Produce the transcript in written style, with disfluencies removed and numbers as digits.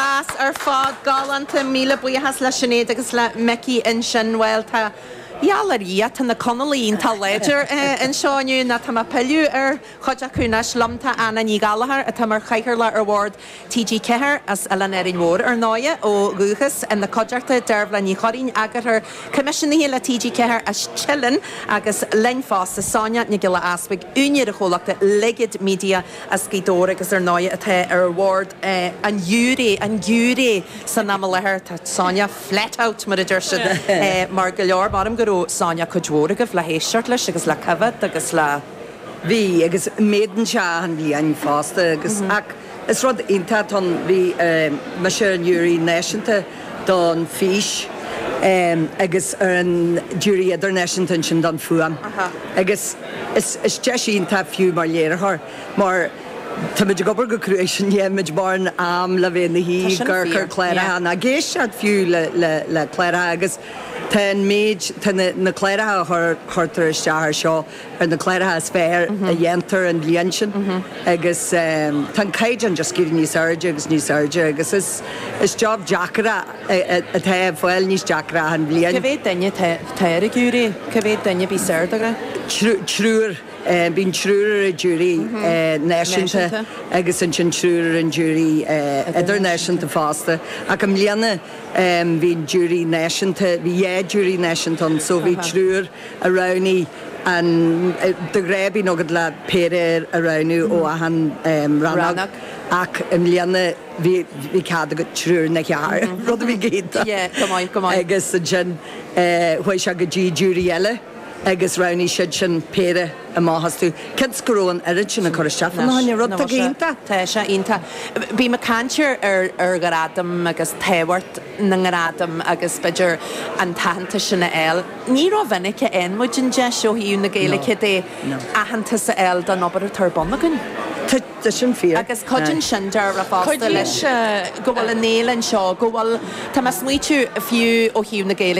Deas ar fad, galánta, míle buíochas le Sinéad agus le Micí ansin. Bhuel, tá, gheall ar Dhia, tá na Conallaigh iontach láidir anseo inniu, nó tá mé ag pilleadh ar chuid acu anois. Liom tá Anna Ní Ghallchóir, atá mar chathaoirleach ar bhord TG4, as Oileán Árainn Mhór, ar ndóighe, ó dhúchas, ina cuideachta, Deirbhile Ní Churraoin, eagarthóir coimisiúnaithe le TG4 as Teileann, agus linn fosta, Sonia Nic Giolla Easbuig, úinéir an chomhlachta Ligid Media as Gaoth Dobhair agus ar ndóighe atá ar bhord an ghiúiré, an giúiré san am i láthair. Tá Sonia flat out mar a deir siad mar go leor, maram go raibh Sonia cuid mhór agaibh le héisteacht leis agus le coimhéad agus le. Bhí, agus méadaíonn sé achan bhliain fosta agus ach is rud iontach atá ann, bhí mise ar an ghiúiré náisiúnta don fís agus ar an giúiré idirnáisiúnta ansin don fuaim agus is is deis iontach fiú mar léiritheoir mar táimid ag obair go cruaidh sin níl mórán am le bheith ina shuí ag amharc ar chláracha ná ag éisteacht fiú le le le cláracha agus tá an méid tá na na cláracha a chur chuirtear isteach ar seo ar na cláracha is fearr a dhéantar an bhliain sin agus tá an caighdeán just ag éirí níos airde agus níos airde agus is is job deacair é atá ag fáil níos deacra achan bhliain. Cá mhéad duine atá ar an ghiúiré? Cá mhéad duine a bhíos air de ghnáth? Triúr. Bíonn triúr ar an ghiúiré náisiúnta agus ansin triúr ar an ghiúiré idirnáisiúnta fosta ach i mbliana bhí an giúiré náisiúnta, bhí dhá ghiúiré náisiúnta ann so bhí triúr a roghnaigh an, de ghnáth bíonn agat le péire a roghnú ó achan rannóg ach i mbliana bhí bhí cead agat triúr nó ceathrar, rud a bhí go hiontach. Yeah, go maith, go maith. Agus ansin chuaigh sé go dtí giúiré eile agus roghnaigh siad sin péire amach astu. Cionn is go raibh an oiread sin ag cur isteach fána choinne, rud atá go hiontach. Tá sé iontach. Bím ag caint ar ar ghradaim agus tábhacht na ngradam agus b'fhéidir an t-aitheantas sin a fháil. Ní rómhinic a fhaigheann muid an deis ó thaobh na Gaeilge de aitheantas a fháil don obair atá ar bun againn. Tá sin fíor. Agus cuidíonn sin dearfa fosta leis go bhfuil an fhéile anseo, go bhfuil, tá mé ag smaoitiú fiú ó thaobh na Gaeilge.